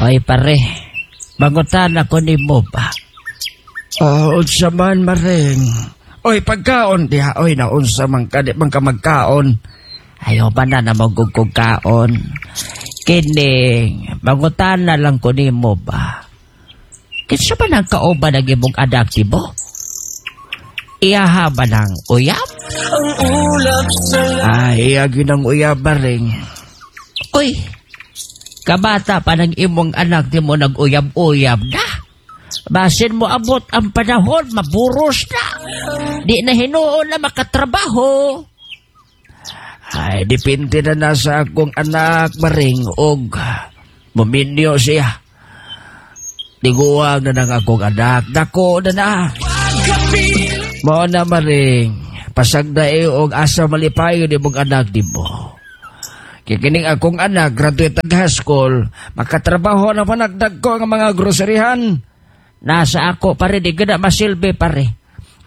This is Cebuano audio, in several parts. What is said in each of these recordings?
Oy pare, mangutana ko nimo ba? Oh, unsa man, Maring? Oy, pagkaon diha. Oy, naunsa man ka, di man ka magkaon. Ayaw ba na na magugkog kaon? Kining, mangutana lang ko nimo ba? Kinsa ba nang kauban ang imong anak mo? Iyaha ba ng uyab? Ay, iya gyud ang uyab, Maring. Uy, kabata pa ng imong anak di mo nag-uyab-uyab na. Basin mo abot ang panahon, maburos na. Di na hinuon na makatrabaho. Ay, depende na na sa akong anak, Maring, og muminyo siya. Tiguang na ng akong anak. Dako na na. Mao na, Maring. Pasagdae og asa malipayon imong anak nimo. Kay kining akong anak, graduate ang high school, makatrabaho na panagdag ko ang mga groceryhan. Nasa ako pare, di gina masilbi pare.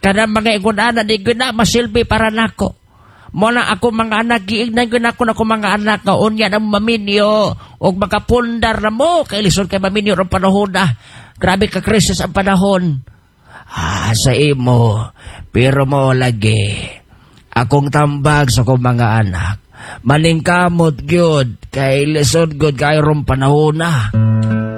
Kanang mga ingon ana, di gina masilbi para nako. Mo na ako mga anak, giignan gyud ako na ako mga anak nga unya na maminyo og makapundar na mo kay lisod kay maminyo ron panahon na. Grabe ka krisis ang panahon. Ah, sa imo, pero mo lagi. Akong tambag sa akong mga anak. Maningkamot gyud kay lisod gyud kay rong panahon na.